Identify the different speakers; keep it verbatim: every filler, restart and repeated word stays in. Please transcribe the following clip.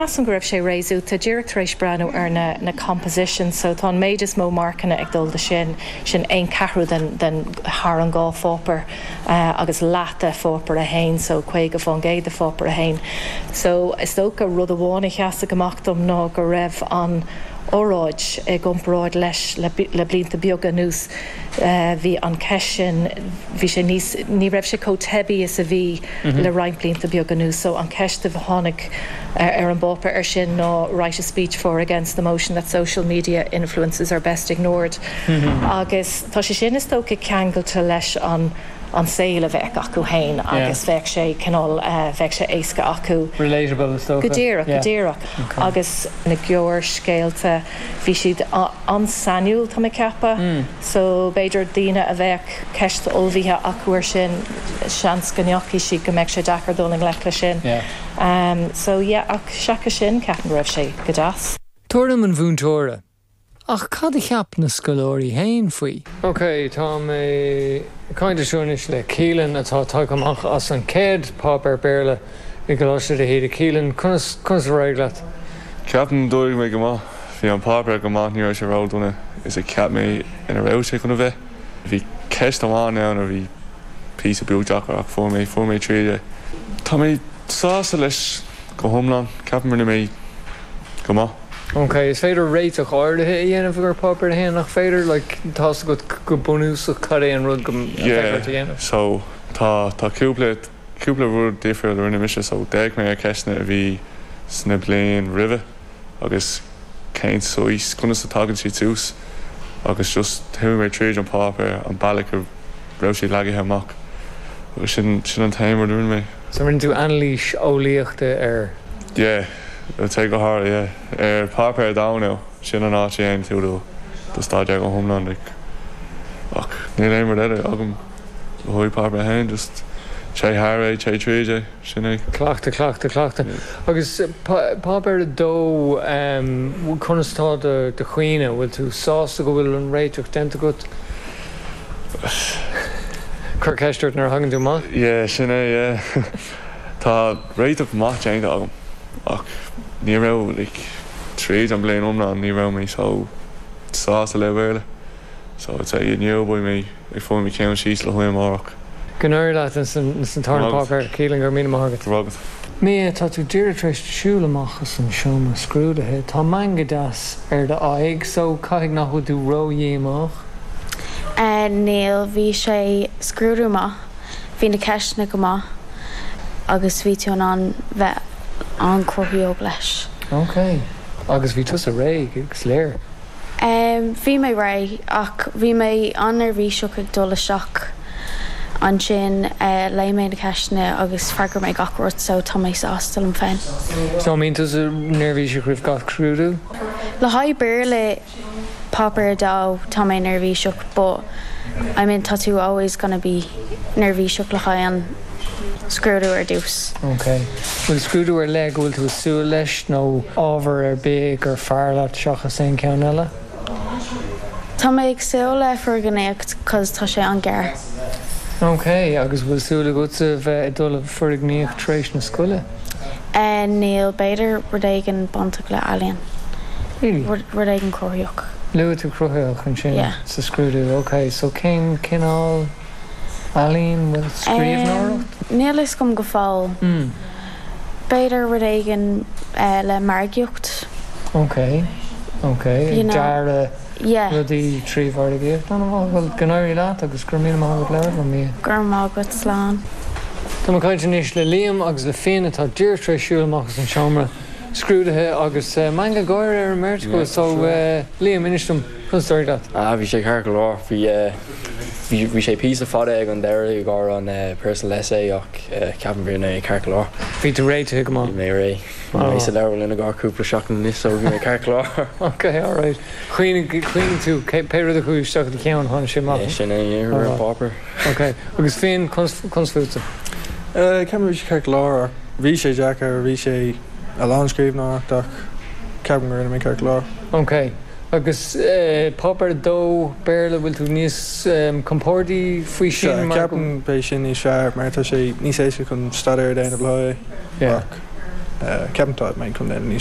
Speaker 1: Measaim go raibh sé réasúnta díreach tar éis breathnú ar na, na composition, so tá an méid is mó marcanna ag dul do sin sin aon ceathrú den, den thar an dhá pháipéar uh, agus leath de pháipéar a haon so caoga faoin gcéad de pháipéar a haon. So is dócha rud amháin a sheas amach dom ná go raibh an óráid i gcomparáid leis le, le blianta beaga anuas uh, bhí an ceist sin bhí sé níos ní raibh sé chomh teibí is a bhí mm -hmm. le roinnt blianta beaga anuas so an ceist a tháinig uh, ar an bpáipéar ar sin ná write a speech for against the motion that social media influences are best ignored. Mm -hmm. Agus tá sé sin is dócha ceangailte leis an an saol a bheith acu féin agus bheadh sé cineál uh, bheadh sé éasca acu.
Speaker 2: Relatable is
Speaker 1: Go díreach go díreach agus na gearrscéalta bhí siad an-sainiúil tá mé ag ceapadh, mm. so b'fhéidir daoine a bheadh ceist ullmhaithe acu ar sin seans go ndeachaigh siad go mbeidh sé deacair dul i ngleic le sin.
Speaker 2: Yeah.
Speaker 1: Um, so yeah, ach seachas sin ceapaim go raibh sé go deas.
Speaker 2: Tuairim an mhúinteora. Ach cad a cheap na scoláirí féin faoi. Ok, tá mé caint anois le Keelan atá tagtha amach as an céad páipéar Béarla i gColáiste de hÍde Keelan conas conas ar éirigh leat.
Speaker 3: Ceapaim d'éirigh mé go maith bhí an páipéar go maith ní raibh sé ródhona is a cheap mé ina raibh sé chun a bheith. Bhí ceist amháin ann a bhí píosa beag deacair ach fuair mé fuair mé tríd é. Tá mé sásta leis go hiomlán ceapaim rinne mé go maith.
Speaker 2: Ok, is féidir réiteach áirithe a dhéanamh ar páipéar a haon nach féidir le tá go go bunúsach cad é an rud go
Speaker 3: dhéanamh. So tá tá cúpla cúpla rud difriúil a rinne mise so d'fhéach mé ar ceisteanna a bhí sna bliain roimhe agus cén saghas conas a tagann siad suas agus just chuaigh mé tríd an páipéar an bealach a raibh sé leagtha amach agus sin sin an t-aon rud a rinne mé.
Speaker 2: So rinne tú anailís eolaíochta ar
Speaker 3: Yeah, te go hard yeah. ar páipéar a dó sin an áit aon tú do do staidéar go hiomlán like, ach níl aon rud eile agam le haghaidh páipéar a haon just téigh thar é téigh tríd é sin é.
Speaker 2: Cleachtadh cleachtadh cleachtadh. Agus páipéar a dó conas tá do do chuimhne bhfuil tú sásta go bhfuil an réiteach déanta agat? Cuir ceist ort nuair a thagann tú amach?
Speaker 3: Yeah, sin é yeah. Tá réiteach maith déanta agam ach ní raibh like, tríd an bliain iomlán ní raibh mé so sásta le Béarla. So it's é inniu beidh mé ag fáil mo cheann síos le haghaidh amárach.
Speaker 2: Go n-éirí leat san tarna páipéar Keelan go raibh míle maith agat.
Speaker 3: Agat.
Speaker 2: Mia tá tú díreach tar éis siúl amach as an seomra scrúdaithe, Tá meangadh deas ar do aghaidh so caithfidh nach bhfuil tú ró-dhíomách.
Speaker 4: Uh, Níl bhí sé scrúdú maith, bhí na ceisteanna go maith agus bhí tú in ann bheith an-cruthaitheach leis.
Speaker 2: Ok, agus bhí tusa réidh agus léir.
Speaker 4: Um, bhí mé réidh ach bhí mé an-neirbhíseach ag dul isteach ansin uh, léigh mé na ceisteanna agus freagair mé gach rud so tá mé sásta liom féin.
Speaker 2: So mbíonn tú neirbhíseach roimh gach scrúdú?
Speaker 4: Le haghaidh Béarla páipéar dó tá mé neirbhíseach, but I mean tá tú always gonna be neirbhíseach le haghaidh an scrúdú ar dtús.
Speaker 2: Ok. Bhfuil scrúdú ar leith go bhfuil tú ag súil leis nó ábhar ar bith gur fearr leat seachas aon ceann eile?
Speaker 4: Tá mé ag súil le foirgníocht cos tá sé an-ghearr.
Speaker 2: Ok, agus bhfuil súil agat a bheith ag dul foirgníocht tar éis na scoile?
Speaker 4: Uh, níl b'fhéidir rud éigin bainteach le ealaín.
Speaker 2: Really?
Speaker 4: Rud éigin cruthaitheach.
Speaker 2: Luaigh tú cruthaitheach ansin
Speaker 4: Yeah.
Speaker 2: sa scrúdú. Ok, so cén cineál ealaín bhfuil scríbhneoireacht?
Speaker 4: Níl a fhios agam go fóill.
Speaker 2: Mm.
Speaker 4: B'fhéidir rud éigin uh, le margaíocht.
Speaker 2: Ok, ok.
Speaker 4: You know,
Speaker 2: Dearadh
Speaker 4: Yeah,
Speaker 2: rudaí trí mhargaíocht an bhfuil go n-éirí leat agus gur mí maith le mí.
Speaker 4: gur maith agat slán.
Speaker 2: Tá mé ag caint anois le Liam agus le Finn atá díreach tar éis siúl amach as an seomra scrúdaithe agus uh, meangadh gáire ar an mbeirt
Speaker 5: Yeah,
Speaker 2: so
Speaker 5: sure.
Speaker 2: uh, Liam inis dom conas ar leat.
Speaker 5: Ah, bhí sé ceart go leor bhí bhí bhí sé píosa fada ag an deireadh ag an uh, personal essay ach uh, ceapaim bhí mé ceart go leor.
Speaker 2: Bhí tú réitithe go
Speaker 5: Bhí
Speaker 2: maith.
Speaker 5: mé réidh
Speaker 2: Oh.
Speaker 5: mé sa leabharlann ag cúpla seachtain anois so bhí mé ceart go leor.
Speaker 2: Ok, alright. Chuimhnigh chuimhnigh tú pé rud a chuaigh isteach i do cheann tháinig sé amach.
Speaker 5: sin é
Speaker 2: Oh.
Speaker 5: ar páipéar.
Speaker 2: Ok, agus Finn conas fútsa.
Speaker 6: Ceapaim bhí sé ceart go leor bhí sé deacair bhí sé a lán scríbhneoireacht ach ceapaim gur rinne mé ceart go leor.
Speaker 2: Ok. Agus uh, páipéar dó Béarla bhfuil tú níos um, compordaí faoi sin mar go-
Speaker 6: Ceapaim beidh sin níos fearr mar tá sé níos éasca chun staidéar a dhéanamh le
Speaker 2: Yeah.
Speaker 6: ach Ceapaim tá mé chun níos